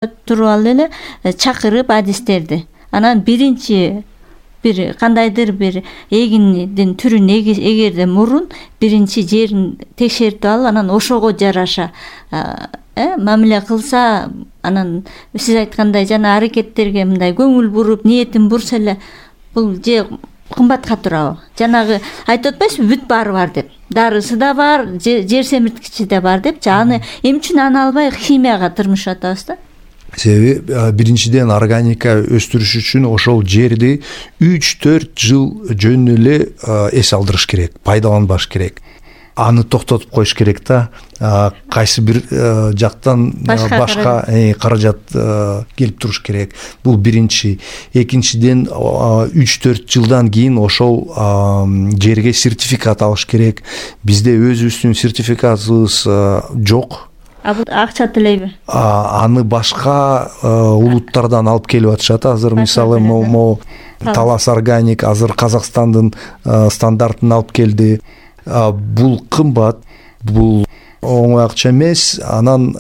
туруп алып эле чакырып адистерди. Анан биринчи бир кандайдыр бир эгиндин түрүн эгерде мурун биринчи жерин текшертип алып, анан ошого жараша мамиле кылса, анан сиз айткандай жана аракеттерге мындай көңүл буруп, ниетин бурса эле бул же кымбатка турабы? Жанагы айтып атпайсызбы, бүт баары бар деп. Дарысы да бар, жер семирткичи да бар депчи. Аны эмне үчүн аны албай химияга тырмышып атабыз да? Себеби биринчиден органика өстүрүш үчүн ошол жерди 3-4 жыл жөн эле эс алдырыш керек, пайдаланбаш керек. Аны токтотуп коюш керек да. Кайсы бир жактан башка каражат келип туруш керек. Бул биринчи. Экинчиден 3-4 жылдан кийин ошол жерге сертификат алыш керек. Бизде өзүбүздүн сертификатыбыз жок. Бул акча төлөйбү? Аны башка улуттардан алып келип атышат. Азыр мисалы Талас Органик азыр Казакстандын стандартын алып келди. Бул кымбат, бул оңой акча эмес. Анан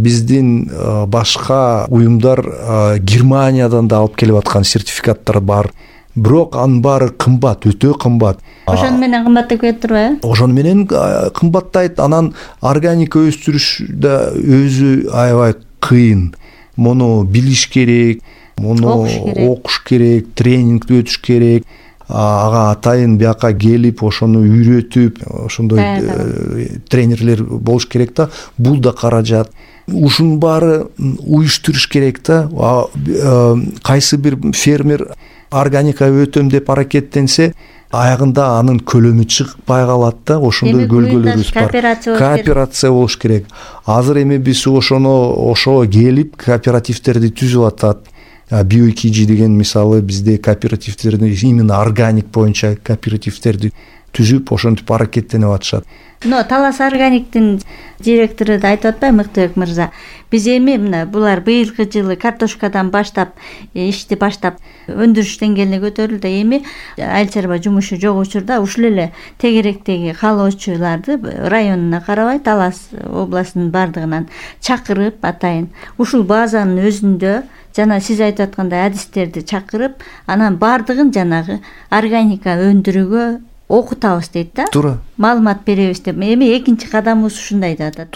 биздин башка уюмдар Германиядан да алып келип аткан сертификаттар бар. Бирок анын баары кымбат, өтө кымбат. Ошону менен кымбаттап кетип турбайбы? Ошону менен кымбаттайт. Анан органика өстүрүш да өзү аябай кыйын. Муну билиш керек, муну окуш керек, тренингди өтүш керек. Ага атайын бияка келип, ошону үйрөтүп, ошондой тренерлер болуш керек да. Бул да каражат. Ушунун баары уюштуруш керек да. Кайсы бир фермер органика өтөм деп аракеттенсе, аягында анын көлөмү чыкпай калат да. Ошондой көлгөлөрүбүз бар. Кооперация болуш керек. Азыр эми биз ошого келип кооперативтерди түзүп атат. Био2G деген мисалы бизде кооперативтерди именно органик боюнча кооперативтерди түзүп, ошентип аракеттенип атышат. Талас Органиктин директору да айтып атпайбы, Мыктыбек мырза? Биз эми мына булар быйылкы жылы картошкадан баштап ишти баштап өндүрүш деңгээлине көтөрүлдү. Эми айыл чарба жумушу жок учурда ушул эле тегеректеги каалоочуларды районуна карабай Талас областынын бардыгынан чакырып атайын ушул базанын өзүндө жана сиз айтып аткандай адистерди чакырып, анан бардыгын жанагы органика өндүрүүгө окутабыз дейт да. Туура. Маалымат беребиз деп. Эми экинчи кадамыбыз ушундай деп атат.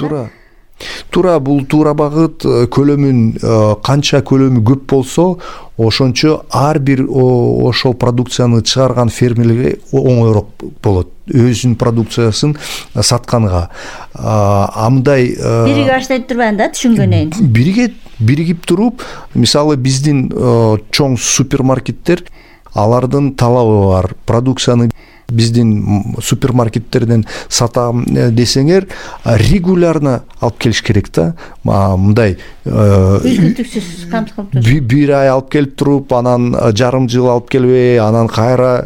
Туура, бул туура багыт. Көлөмүн канча көлөмү көп болсо, ошончо ар бир ошол продукцияны чыгарган фермерлерге оңоюраак болот. Өзүнүн продукциясын сатканга. Мындай бириге баштайт турбайбы да, түшүнгөнөйүн. Биригип туруп, мисалы биздин чоң супермаркеттер, алардын талабы бар. Продукцияны биздин супермаркеттерден сатам десеңер, регулярно алып келиш керек да. Мындай үздүктүксүз камсыз кылып туруш. Бир ай алып келип туруп, анан жарым жыл алып келбей, анан кайра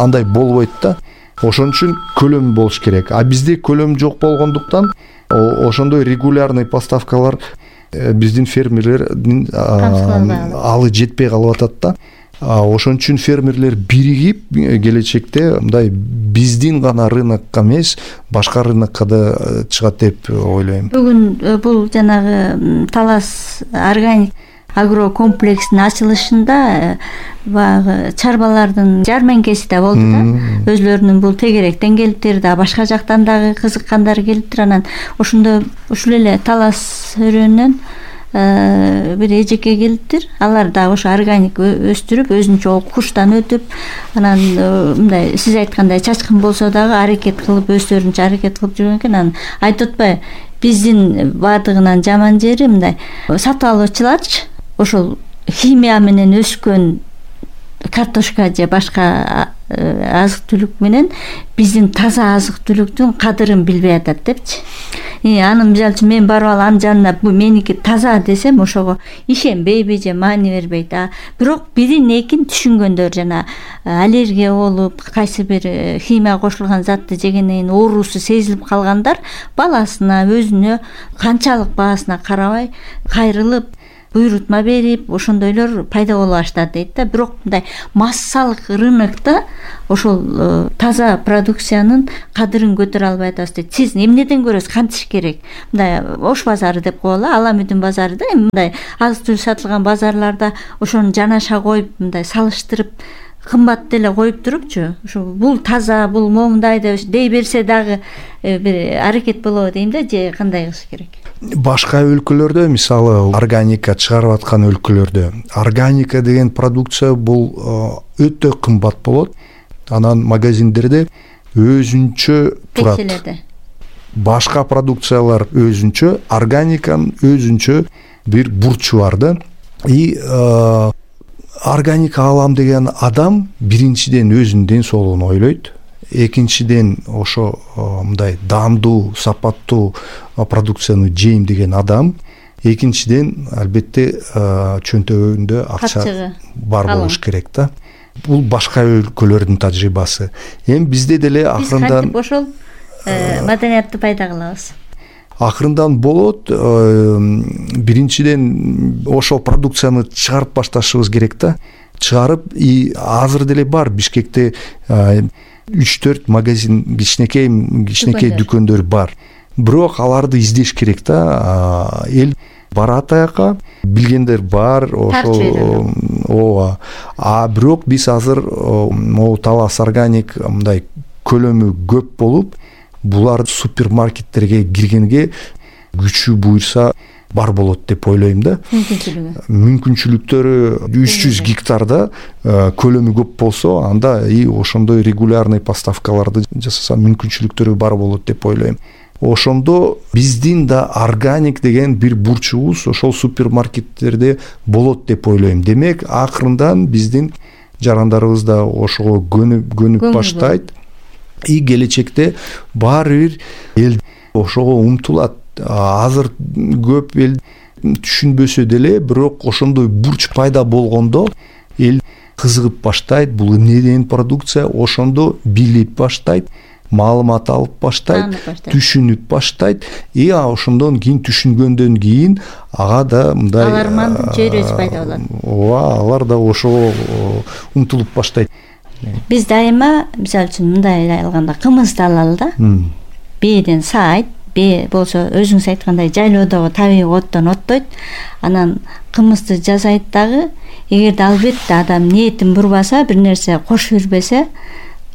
андай болбойт да. Ошон үчүн көлөм болуш керек. Бизде көлөм жок болгондуктан ошондой регулярный поставкалар биздин фермерлердин алы жетпей калып атат да. Ошон үчүн фермерлер биригип келечекте мындай биздин гана рынокко эмес, башка рынокко да чыгат деп ойлойм. Бүгүн бул жанагы Талас Органик агро комплексинин ачылышында баягы чарбалардын жармеңкеси да болду да. Өзлөрүнүн бул тегеректен келиптир да, башка жактан дагы кызыккандар келиптир. Анан ошондо ушул эле Талас өрөөнүнөн бир эжекке келиптир. Алар да ошо органик өстүрүп, өзүнчө курстан өтүп, анан мындай сиз айткандай чачкын болсо дагы аракет кылып, өздөрүнчө аракет кылып жүргөн экен. Анан айтып атпайбы, биздин бардыгынан жаман жери мындай сатып алуучуларчы ошол химия менен өскөн картошка же башка азык түлүк менен биздин таза азык түлүктүн кадырын билбей атат депчи. Анын мисалы үчүн мен барып алып анын жанына бул меники таза десем, ошого ишенбейби же маани бербейт. Бирок бирин экин түшүнгөндөр, жана аллергия болуп, кайсы бир химия кошулган затты жегенден кийин оорусу сезилип калгандар баласына, өзүнө канчалык баасына карабай кайрылып буйрутма берип ошондойлор пайда боло баштады дейт да. Бирок мындай массалык рынокто ошол таза продукциянын кадырын көтөрө албай атабыз дейт. Сиз эмнеден көрөсүз, кантиш керек? Мындай Ош базары деп коелу, Ала Мүдүн базары да, мындай азык түлүк сатылган базарларда ошону жанаша коюп, мындай салыштырып кымбат деле коюп турупчу, ушу бул таза, бул момундай деп дей берсе дагы бир аракет болобу дейм да, же кандай кылыш керек? Башка өлкөлөрдө, мисалы органика чыгарып аткан өлкөлөрдө органика деген продукция бул өтө кымбат болот. Анан магазиндерде өзүнчө турат. Башка продукциялар өзүнчө, органиканын өзүнчө бир бурчу бар да. И органика алам деген адам биринчиден өзүнүн ден соолугун ойлойт. Экинчиден ошо мындай даамдуу, сапаттуу продукцияны жейм деген адам. Экинчиден албетте чөнтөгүндө акча бар болуш керек да. Бул башка өлкөлөрдүн тажрыйбасы. Эми бизде деле акырындан биз ошол маданиятты пайда кылабыз. Акырындан болот. Биринчиден ошол продукцияны чыгарып башташыбыз керек да. Чыгарып, и азыр деле бар Бишкекте 3-4 магазин, кичинекей дүкөндөр бар. Бирок аларды издеш керек да. Эл барат аяка, билгендер бар, ошол ооба. Бирок биз азыр могу Талас органик мындай көлөмү көп болуп, булар супермаркеттерге киргенге күчү буйрса бар болот деп ойлойм да. Мүмкүнчүлүктөрү 300 гектарда көлөмү көп болсо, анда и ошондой регулярный поставкаларды жасаса мүмкүнчүлүктөрү бар болот деп ойлойм. Ошондо биздин да органик деген бир бурчубуз ошол супермаркеттерде болот деп ойлойм. Демек, акырындан биздин жарандарыбыз да ошого көнүп баштайт. И келечекте баары бир эл ошого умтулат. Азыр көп эл түшүнбөсө деле, бирок ошондой бурч пайда болгондо эл кызыгып баштайт. Бул эмне деген продукция? Ошондо билип баштайт, маалымат алып баштайт, түшүнүп баштайт. И ошондон кийин түшүнгөндөн кийин ага да мындай алармандын чөйрөсү пайда болот. Ооба, алар да ошого умтулуп баштайт. Биз дайыма, мисалы үчүн мындай алганда кымызды алалы да. Бээден саайт, бээ болсо өзүңүз айткандай жайлоодогу табигый оттон оттойт. Анан кымызды жасайт дагы. Эгерде албетте адам ниетин бурбаса, бир нерсе кошуп жүрбөсө,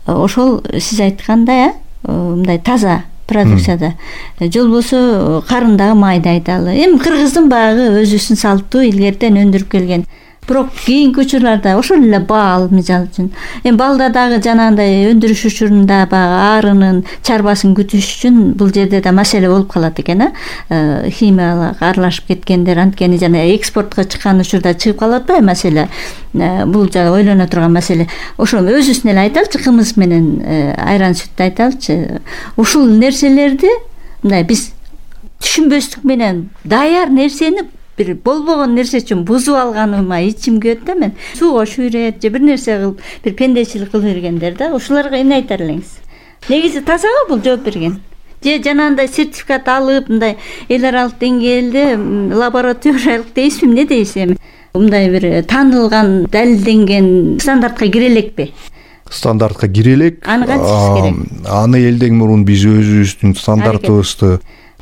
ошол сиз айткандай мындай таза продукцияда жолбосо карындагы майды айдалы. Эми кыргыздын багы өзүбүздүн салттуу илгертен өндүрүп келген. Бирок кийинки учурларда ошол эле бал, мисалы үчүн. Эми балда дагы жанагындай өндүрүш учурунда багы арынын, чарбасын күтүш үчүн бул жерде да маселе болуп калат экен, химиялык аралашып кеткендер, анткени жана экспортко чыккан учурда чыгып калат да маселе. Бул жана ойлоно турган маселе. Ошо өзүбүздүн эле айталычы, кымыз менен айран сүттү айталычы. Ушул нерселерди мындай биз түшүнбөстүк менен даяр нерсени бир болбогон нерсе үчүн бузуп алганыма ичим күйөт да. Мен сууга шүйрөт же бир нерсе кылып, бир пендечилик кылып бергендер да. Ушуларга эмне айтар элеңиз? Негизи тазабы бул жооп берген? Же жанагындай сертификат алып, мындай эл аралык деңгээлде лабораториялык дейсизби, эмне дейсиз эми? Мындай бир таанылган, далилденген стандартка кире элекпи? Стандартка кире элек. Аны кантип керек? Аны элден мурун биз өзүбүздүн стандартыбызды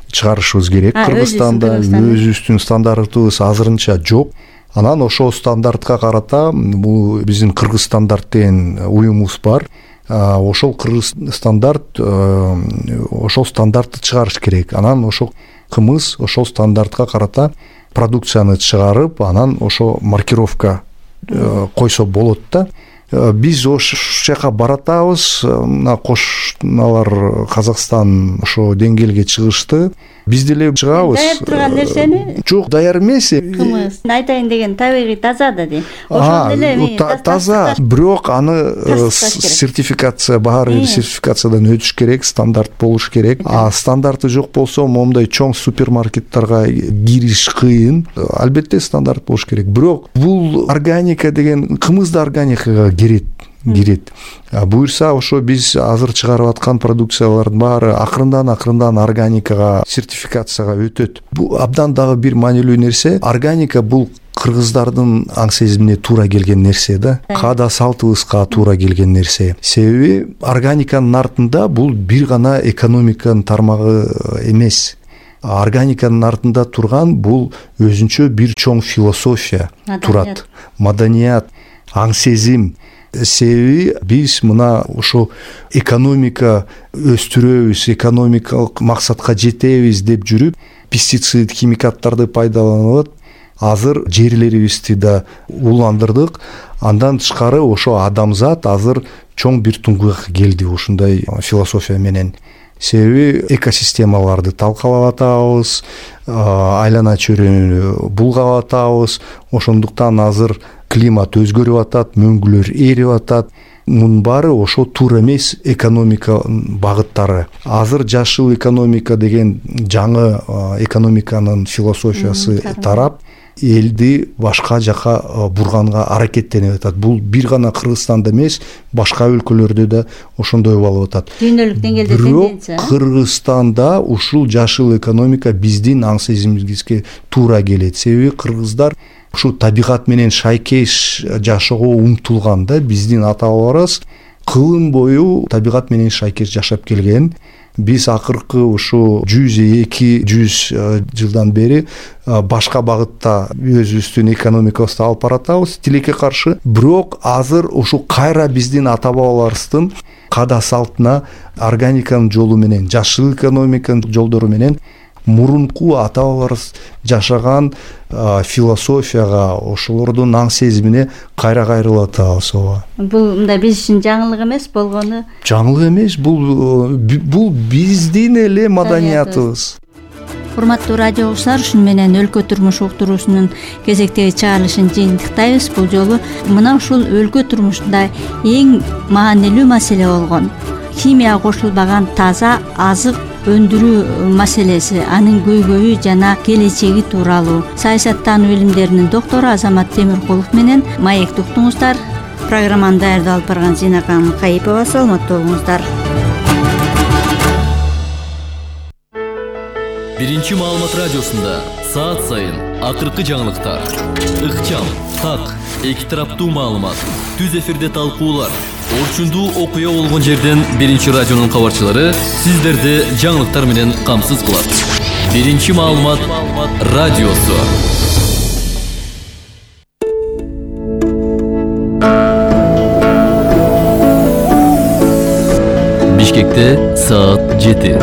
чыгарышыбыз керек. Кыргызстанда өзүбүздүн стандартыбыз азырынча жок. Анан ошол стандартка карата бул биздин Кыргыз стандарт деген уюмубуз бар. Ошол Кыргыз стандарт ошол стандартты чыгарыш керек. Анан ошол кымыз ошол стандартка карата продукцияны чыгарып, анан ошо маркировка койсо болот да. Биз ошол жака баратабыз. Мына кошуналар Казакстан ошо деңгээлге чыгышты. Биз деле чыгабыз. Даяр турган нерсени? Жок, даяр эмес. Кымыз. Айтайын деген табигый таза да дейм. Ошол деле таза, бирок аны сертификация, баары бир сертификациядан өтүш керек, стандарт болуш керек. Стандарты жок болсо, момундай чоң супермаркеттерге кириш кыйын. Албетте стандарт болуш керек. Бирок бул органика деген кымыз да органикага кирет. кирет. Буюрса ошо биз азыр чыгарып аткан продукциялардын баары акырындан органикага, сертификацияга өтөт. Бул абдан дагы бир маанилүү нерсе. Органика бул кыргыздардын аң сезимине туура келген нерсе да, каада салтыбызга туура келген нерсе. Себеби органиканын артында бул бир гана экономиканын тармагы эмес. Органиканын артында турган бул өзүнчө бир чоң философия турат, маданият, аң сезим. Себеби биз мына ошо экономика өстүрөбүз, экономикалык максатка жетебиз деп жүрүп, пестицид, химикаттарды пайдаланып азыр жерлерибизди да уландырдык. Андан тышкары ошо адамзат азыр чоң бир туңгуйга келди ушундай философия менен. Себеби экосистемаларды талкалап атабыз, айлана чөйрөнү булгап атабыз. Ошондуктан азыр климат өзгөрүп атат, мөңгүлөр эрип атат. Мунун баары ошо туура эмес экономика багыттары. Азыр жашыл экономика деген жаңы экономиканын философиясы тарап, элди башка жака бурганга аракеттенип атат. Бул бир гана Кыргызстанда эмес, башка өлкөлөрдө да ошондой болуп атат. Дүйнөлүк деңгээлде тенденция. Кыргызстанда ушул жашыл экономика биздин аң сезимибизге туура келет. Себеби кыргыздар ушу табигат менен шайкеш жашоого умтулган да. Биздин ата-бабаларыбыз кылым бою табигат менен шайкеш жашап келген. Биз акыркы ушу 100-200 жылдан бери башка багытта өзүбүздүн экономикабызды алып баратабыз, тилекке каршы. Бирок азыр ушу кайра биздин ата-бабаларыбыздын каада салтына, органиканын жолу менен, жашыл экономиканын жолдору менен мурунку ата-бабаларыбыз жашаган философияга, ошолордун аң сезимине кайра кайрылып атабыз. Бул мындай биз үчүн жаңылык эмес болгону. Жаңылык эмес, бул биздин эле маданиятыбыз. Урматтуу радио угуучулар, ушуну менен өлкө турмуш уктуруусунун кезектеги чыгарылышын жыйынтыктайбыз. Бул жолу мына ушул өлкө турмушунда эң маанилүү маселе болгон химия кошулбаган таза азык өндүрүү маселеси, анын көйгөйү жана келечеги тууралуу саясаттануу илимдеринин доктору Азамат Темиркулов менен маекти уктуңуздар. Программаны даярдап алып барган Зинакан Кайыпова. Саламаттуу болуңуздар. Биринчи маалымат радиосунда саат сайын акыркы жаңылыктар, ыкчам, так, эки тараптуу маалымат, түз эфирде талкуулар, орчундуу окуя болгон жерден биринчи радионун кабарчылары сиздерди жаңылыктар менен камсыз кылат. Биринчи маалымат радиосу. Бишкекте саат 7.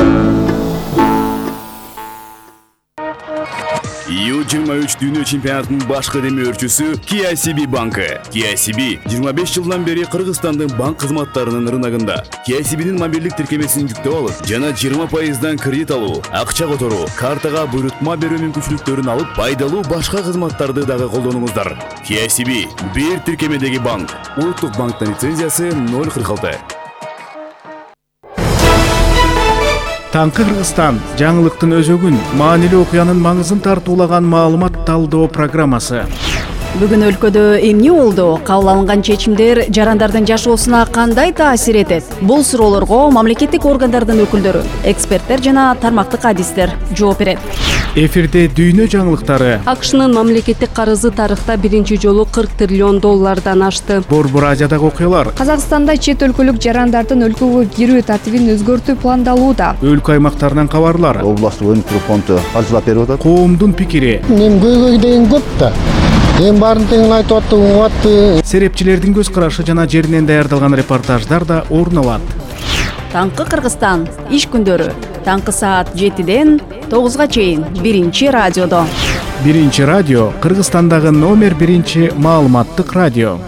U23 дүйнө чемпионатынын башкы демөөрчүсү KCB банкы. KCB 25 жылдан бери Кыргызстандын банк кызматтарынын рыногунда. KCB'нин мобилдик тиркемесин жүктөп алып, жана 20% кредит алуу, акча которуу, картага буйрутма берүү мүмкүнчүлүктөрүн алып, пайдалуу башка кызматтарды дагы колдонуңуздар. KCB бир тиркемедеги банк. Улуттук банктын лицензиясы 046. Таңкы Кыргызстан жаңылыктын өзөгүн, маанилүү окуянын маңызын тартуулаган маалымат талдоо программасы. Бүгүн өлкөдө эмне болду? Кабыл алынган чечимдер жарандардын жашоосуна кандай таасир этет? Бул суроолорго мамлекеттик органдардын өкүлдөрү, эксперттер жана тармактык адистер жооп берет. Эфирде дүйнө жаңылыктары. АКШнын мамлекеттик карызы тарыхта биринчи жолу $40 триллион ашты. Борбор Азиядагы окуялар. Казакстанда чет өлкөлүк жарандардын өлкөгө кирүү тартибин өзгөртүү пландалууда. Өлкө аймактарынан кабарлар. Областтык өнүктүрүү фонду каржылап берип атат. Коомдун пикири. Мен көйгөй деген көп да. Эң баарын тең айтып атты, угатты. Серепчилердин көз карашы жана жеринен даярдалган репортаждар да орун алат. Таңкы Кыргызстан иш күндөрү таңкы саат 7-ден 9-га чейин биринчи радиодо. Биринчи радио Кыргызстандагы номер 1 маалыматтык радио.